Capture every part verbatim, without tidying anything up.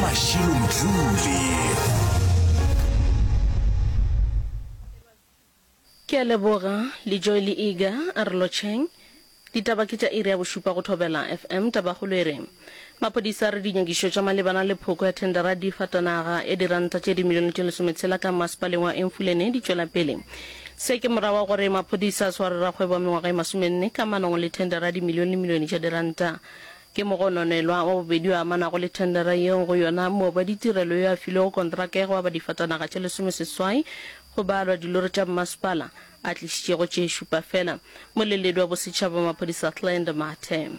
Mashilo Mdluli. Ke a leboga, Lejoe le Iga, a re lotšheng. Ditaba ke tša iri ya bošupa go Thobela F M. Tabakgolo e re, Maphodisa a re dinyakišo tša malebana le phoko ya thendara ya difatanaga ya diranta tše dimilione tše lesometshela ka masepaleng wa Emfuleni di tšwela pele. Se ke morago ga gore maphodisa a sware rakgwebo wa mengwaga e masomenne kamanong le thendara ya dimilione le milione tša diranta. Ke mogononelwa wa bobedi yo a amanago le thendara yeo go yona moabi wa ditirelo yo a filwego kontraka ya go aba difatanaga tše lesomeseswai go balwa dilori tša mmasepala a tlišitšego tše šupa fela. Moleledi wa bosetšhaba wa maphodisa Hlend Mathe.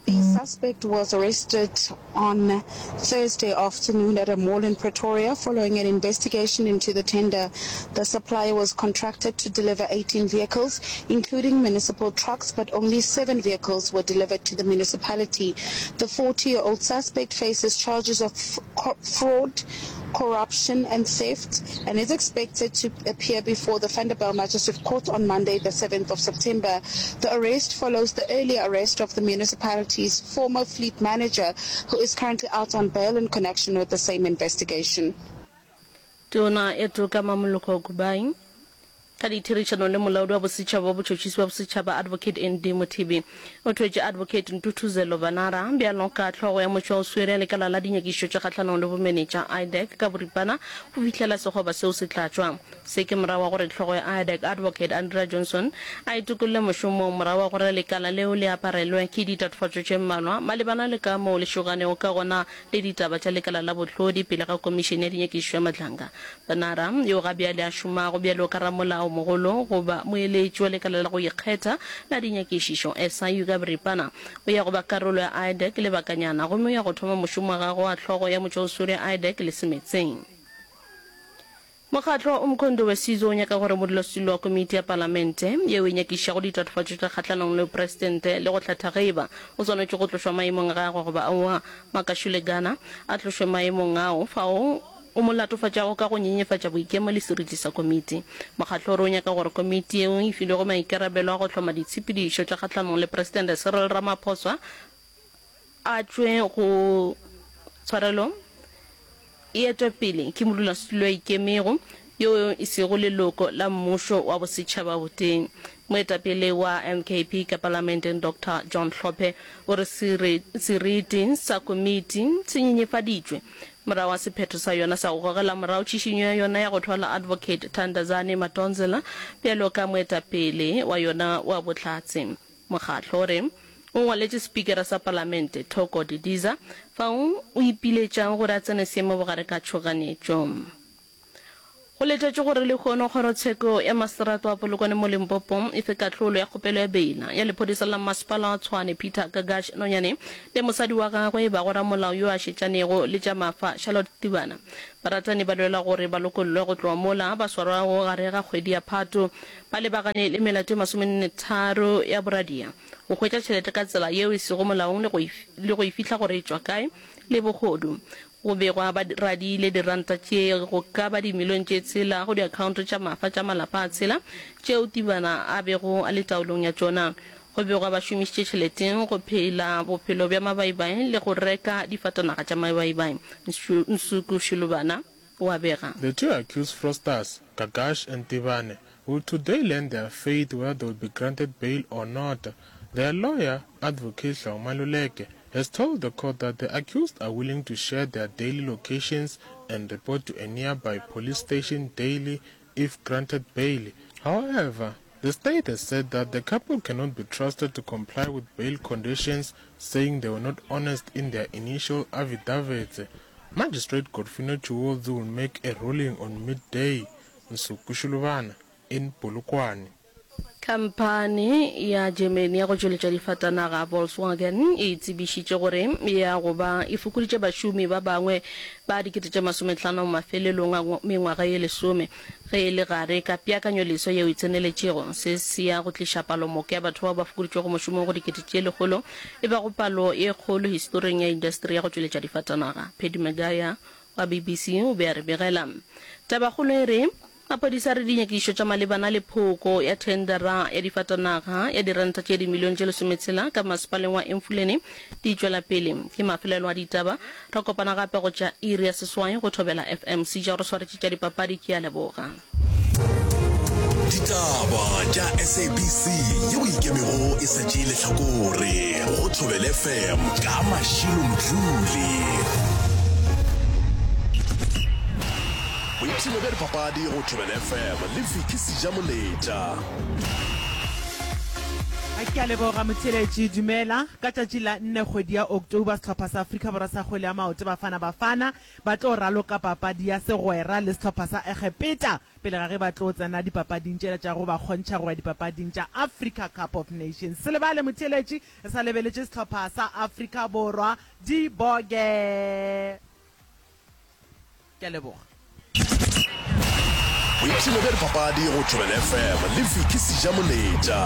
The suspect was arrested on Thursday afternoon at a mall in Pretoria following an investigation into the tender. The supplier was contracted to deliver eighteen vehicles, including municipal trucks, but only seven vehicles were delivered to the municipality. The forty-year-old suspect faces charges of fraud, corruption and theft and is expected to appear before the Vanderbijl Magistrate Court on Monday, the seventh of September. The arrest follows the earlier arrest of the municipality's former fleet manager, who is currently out on bail in connection with the same investigation. Tona ya Toka Mamoloko Kubayi ka ditherišanong le molaodi wa bosetšhaba wa botšhotšhisi bja bosetšhaba Advocate N D Mothibi o thwetše Advocate Ntuthuzelo Vanara bjalo ka hlogo ya motšwaoswere ya lekala la dinyakišišo tša kgahlanong le bomenetša I D A C ka boripana go fihlela sekgoba seo se tlatšwa. Se ke morago ga gore hlogo ya I D A C Advocate Andrea Johnson a itokolle mošomong morago ga gore lekala leo le aparelwe ke ditatofatšo tše mmalwa malebana le ka moo le šoganego ka gona le ditaba tša lekala la bohlodi pele ga Komišene ya Dinyakišišo ya Madlanga. Banara, yo ga bjale a šomago bjalo ka ramolaomogolo goba moeletši wa lekala la go ikgetha la dinyakišišo, S I U ka boripana, o ya go ba karolo ya I D A C lebakanyana gomme o ya go thoma mošomo wa gagwe wa hlogo ya motšwaoswere ya I D A C le semetseng. Mokgatlo wa Umkhonto we Sizwe o nyaka gore modulasetulo wa komiti ya palamente yeo e nyakišišago ditatofatšo tša kgahlanong le bopresidente le go hlatha ge eba o swanetše go tlošwa maemong a gagwe goba aowa, Makashule Gana, a tlošwe maemong ao fao o mo latofatšago ka go nyenyefatša boikemo le seriti sa komiti. Mokgatlo o re o nyaka gore komiti yeo e filwego maikarabelo a go hloma ditshepedišo tša kgahlanong le Presidente Cyril Ramaphosa a tšwe go tshwarelo e etwa pele ke modulasetulo a ikemego yo e sego leloko la mmušo wa bosetšhaba botee. Moetapele wa M K P ka palamenteng Doctor John Hlophe o re seriti sa komiti se nyenyefaditšwe morago ga sephetho sa yona sa go gogela morago tšhišinyo ya yona ya go thwala Advocate Thandazani Madonsela bjalo ka moetapele wa yona wa bohlatse. Mokgatlo o re o ngwaletše Spikara sa Palamente Thoko Didiza fao o ipiletšago gore a tsene seemo bogare ka tšhoganetšo. Go letetšwe gore lehono kgorotsheko ya maseterata wa Polokwane mo Limpopo e fe kahlolo ya kgopelo ya beila ya lephodisa la masepala wa Tshwane Peter Gagash Nonyane le mosadi wa gagwe e bago ramolao yo a šetšanego le tša mafa Charlotte Tibana. Baratani ba lwela gore ba lokollwe go tloga mola ba swarwago gare ga kgwedi ya Phato ba lebagane le melato e masomenne tharo ya boradia, go hwetša tšhelete ka tsela yeo e sego molaong le go e fihla gore e tšwa kae le bohodu. Go begwa ba radiile diranta tše go ka ba dimilione tše tshela go diakhaonto tša mafa tša malapa a tshela tšeo Tibana a bego a le taolong ya tšona. Go begwa ba šomišitše tšhelete go phela bophelo bja mabaibai le go reka difatanaga tša mabaibai. Nsuku Shilubana o a bega. The two accused fraudsters, Gagash and Tibane, will today learn their fate whether they will be granted bail or not. Their lawyer, Advocate Hlong Maluleke, has told the court that the accused are willing to share their daily locations and report to a nearby police station daily if granted bail. However, the state has said that the couple cannot be trusted to comply with bail conditions, saying they were not honest in their initial affidavits. Magistrate Godfrey Chiwodzi will make a ruling on midday. Nsuku Shulubana in Polokwane. Khamphani ya Germany ya go tšweletša difatanaga Volkswagen e tsebišitše gore e ya go ba e fokoditše bašomi ba bangwe ba dikete tše masomehlano mafelelong a mengwaga ye lesome ge e le gare ka peakanyoleswa yeo e tseneletšego. Se se ya go tliša palomoka ya batho bao ba fokoditšwego mošomong go dikete tše lekgolo, e bago palo ye kgolo historing ya indasteri ya go tšweletša difatanaga. Paddy Magaya wa B B C o be a re begela. Tabakgolo e re. Maphodisa a re dinyakišišo tša malebana le phoko ya thendara ya difatanaga ya diranta tše dimilione tše lesometshela ka masepaleng wa Emfuleni di tšwela pele. Ke mafelelo a ditaba. Re kopana gape go tša iri ya seswai go Thobela F M. Seja o re swaretše tša dipapadi. Ke a leboga. Ditaba tša S A B C yeo e ikemego e sa tšee lehlakore go Thobela F M ka Mashilo Mdluli. Boipshino bja dipapadi go Thobela F M le Vicky Sejamoletša. Ke a leboga motheeletši. Dumela. Ka tšatši la nne kgwedi ya October sehlopha sa Afrika Borwa sa kgwele ya maoto Bafana Bafana ba tlo raloka papadi ya segwera le sehlopha sa Egepeta pele ga ge ba tlo tsena dipapading tšela tša go ba kgontšha go ya dipapading tša Africa Cup of Nations. Se lebale motheeletši, re sa lebeletše sehlopha sa Afrika Borwa di boge. Ke a leboga. Boipshino bja dipapadi go Thobela F M le Vicky Sejamoletša.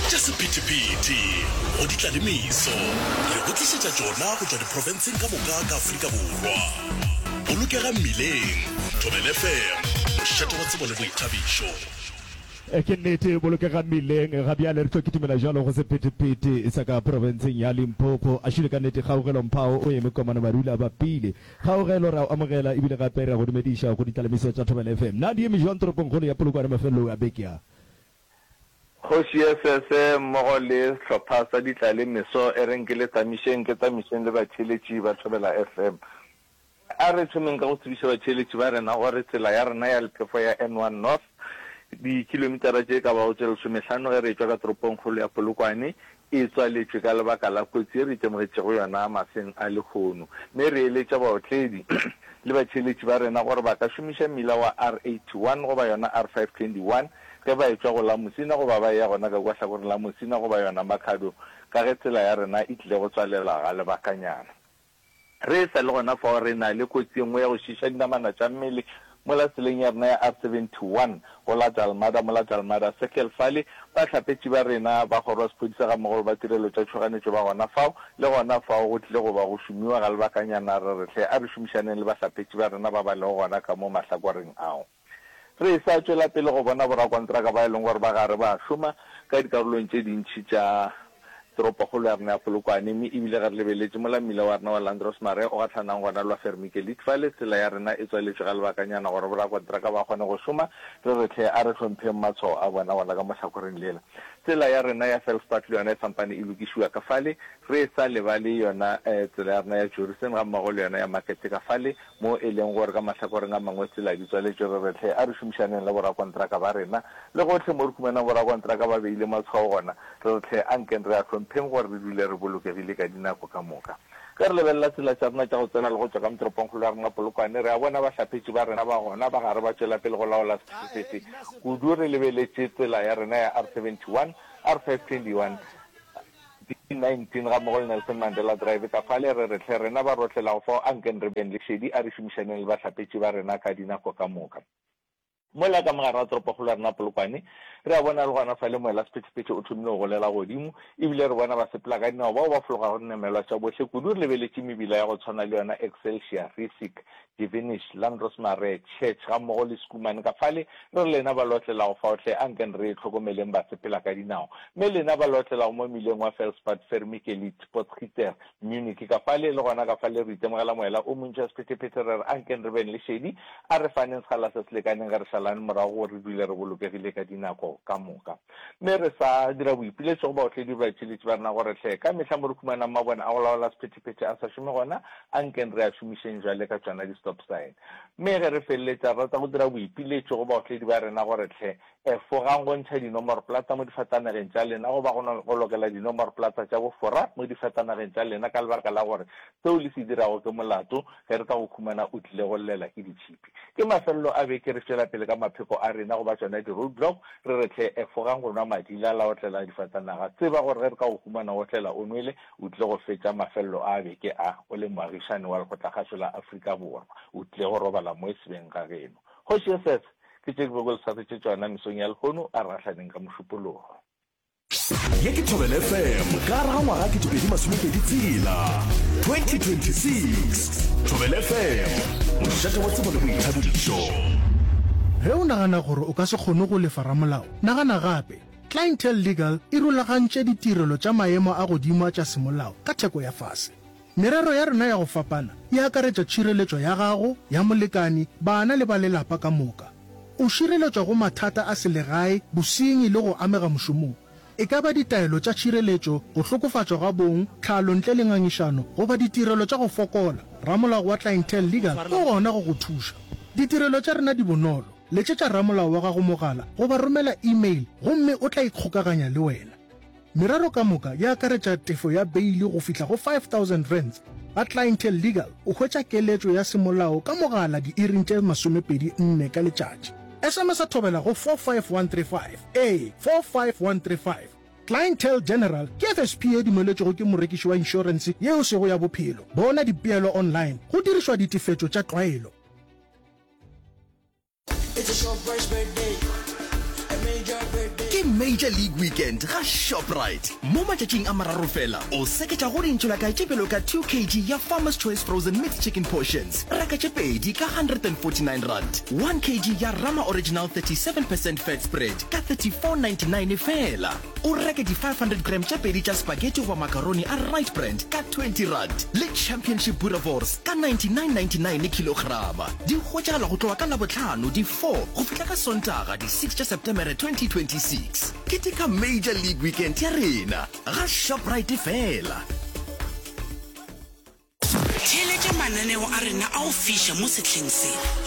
Tša sephethephethe go di tla le meso, re go tlišetša tšona go tšwa diprofenseng ka moka ka Afrika Borwa. Bolokega mmileng, Thobela F M, mošate wa tsebo le boithabišo. Ke nnete, bolokega mmileng. Ga bjale re tlo kitimela bjalo go sephethephethe sa ka profenseng ya Limpopo. A šile ka nnete, Kgaugelo Mphao o eme komana Marula a bapile. Kgaugelo, re a o amogela ebile gape re a go dumediša go ditlalemiso tša Thobela F M. Na di eme jwang toropongkgolo ya Polokwane mafelelong a beke a? Kgoši Esese mmogo le sehlopha sa Ditlalemeso e reng ke le tsamišeng ke tsamišeng le batheeletši ba Thobela F M. A re thomeng ka go tsebiša batheeletši ba rena gore tsela ya rena ya lephefo ya N one North, dikilomitara tše ka bago tše lesomehlano ge re etšwa ka toropongkgolo ya Polokwane, e tswaletšwe ka lebaka la kotsi ye re itemogetšego yona maseng a lehono. Mme re eletša baotledi le batheeletši ba rena gore ba ka šomiša mmila wa R eighty one goba yona R five twenty one ge ba etšwa go la Musina goba ba eya gona ka kua hlakoreng la Musina goba yona Makhado ka ge tsela ya rena e tlile go tswalelwa ga lebakanyana. Re sa le gona fao re na le kotsi ye nngwe ya go šiiša dinamana tša mmele mola tseleng ya rena ya R seventy one go la Dalmada mola Dalmada Circle fale bahlapetši ba rena ba kgoro ya sephodisa gammogo le ba tirelo tša tšhoganetšo ba gona fao le gona fao go tlile go ba go šomiwa ga lebakanyana re re hle a re šomišaneng le bahlapetši ba rena ba ba lego gona ka mo mahlakoreng ao. Re sa tšwela pele go bona borakontraka ba e leng gore ba gare ba šoma ka dikarolong tše dintši tša toropokgolo ya rena ya Polokwane mme ebile ge re lebeletše mola mmila wa rena wa Landros Marais o gahlanang gona lwa Vermikelit fale tsela ya rena e tswaletšwe ga lebakanyana gore borakontraka ba kgone go šoma re re hle a re hlompheng matshwao a bona gona ka mo hlakoreng lela. Tsela ya rena ya Felspart le yona e sampane e lokišiwa ka fale re sa lebale yona tsela ya rena ya Jorissen gammogo le yona ya Market ka fale Mo e leng gore ka mahlakoreng a mangwe tsela di tswaletšwe, re re hle a re šomišaneng le borakontraka ba rena. Le gohle mo re humanang borakontraka ba beile matshwao gona, re re hle a nkeng re a hlompheng gore re dule re bolokegile ka dinako ka moka. Ge re lebelela tsela tša rena tša go tsena le go tšwa ka motoropongkgolo ya rena Polokwane, re a bona bahlapetši ba rena ba gona ba gare ba tšwela pele go laola sephethephethe kudu re lebeletše tsela ya rena ya R seventy one, R five twenty one, D nineteen gammogo le Nelson Mandela Drive ka fale, re re hle rena ba rotlelago fao a nkeng re beng le šedi, a re šomišaneng le bahlapetši ba rena ka dinako ka moka. Mola ka mogare ga toropokgolo ya rena Polokwane, re a bona le gona fale moela sephethephethe o thomile go golela godimo, ebile re bona basepela ka dinao bao ba fologago dinamelwa tša bohle kudu re lebeletše mebila ya go tshwana le yona Excelsior, Rissik, Divinish, Landros Marais, Church gammogo le Schoeman ka fale, re re lena ba lotlelago fao hle a nkeng re hlokomeleng basepela ka dinao. Mme lena ba lotlelago mo mmileng wa Felspad, Vermikelit, Potgieter, Munich ka fale, le gona ka fale re itemogela moela o montši wa sephethephethe re re a nkeng re beng le šedi, a re faneng sekgala se se lekaneng ge re šalane morago gore re dule re bolokegile ka dinako ka moka. Mme re sa dira boipiletšo go baotledi le baitšhiletši ba rena gore hle ka mehla mo re humanang mabone a go laola sephethephethe a sa šome gona, a nkeng re a šomišeng bjale ka tšona di-stop sign. Mme ge re feleletša, re rata go dira boipiletšo go baotledi ba rena gore hle efogang go ntšha dinomoroplata mo difatanageng tša lena goba go go lokela dinomoroplata tša bofora mo difatanageng tša lena ka lebaka la gore seo le se dirago ke molato ge re ka go humana o tlile go llela ke ditšhipi. Ke mafelelo a beke re tšwela pele ka mapheko a rena goba tšona di-roadblock re re hle efogang go nwa madila la otlela difatanaga. Tseba gore ge re ka go humana o otlela o nwele o tlile go fetša mafelelo a beke a o le moagišani wa Lekgotlakgašo la Afrika Borwa. O tlile go robala mo e sebeng ga geno. Kgoši Esese, ke tše ke bego ke le swaretše tšona mesong ya lehono, a re gahlaneng ka Mošupologo. Ye ke Thobela F M ka gare ga ngwaga ketepedi masomepedi tshela, twenty twenty-six. Thobela F M, mošate wa tsebo le boithabišo. Ge o nagana gore o ka se kgone go lefa ramolao, nagana gape. Clientele Legal e rulagantše ditirelo tša maemo a godimo tša semolao ka theko ya fase. Merero ya rena ya go fapana e akaretša tšhireletšo ya gago, ya molekani, bana le ba lelapa ka moka. O šireletšwa go mathata a selegae, bosenyi le go amega mošomong. E ka ba ditaelo tša tšhireletšo, go hlokofatšwa ga bong, tlhalo ntle le ngangišano goba ditirelo tša go fokola, ramolao wa Clientele Legal o gona go go thuša. Ditirelo tša rena di bonolo. Letšetša ramolao wa gago mogala goba romela email gomme o tla ikgokaganya le wena. Merero ka moka e akaretša tefo ya beili go fihla go five thousand rands. Ga Clientele Legal o hwetša keletšo ya semolao ka mogala diiring tše masomepedi nne ka letšatši. S M S Thobela go four five one three five, ee, four five one three five. Clientele General ke F S P ye dumeletšwego ke morekiši wa inšorense ye e sego ya bophelo. Bona dipeelo online go dirišwa ditefetšo tša tlwaelo. Ke Major League Weekend ga Shoprite. Mo matšatšing a mararo fela, o seketša go dintšholakae tše bjalo ka two kg ya Farmer's Choice Frozen Mixed Chicken Portions, reka tše pedi ka one hundred and forty-nine rand, one kg ya Rama Original thirty-seven percent Fat Spread ka thirty-four ninety-nine fela. O reke di five hundred gram tše pedi tša spaghetti goba macaroni a Right Brand ka twenty rand le Championship Boerewors ka ninety-nine ninety-nine kilograma. Di hwetšagala go tloga ka Labohlano di four go fihla ka Sontaga di six tša Setemere twenty twenty-six. Keteka Major League Weekend ya rena ga Shoprite fela. Theeletša mananeo a rena a go fiša mo sehleng se.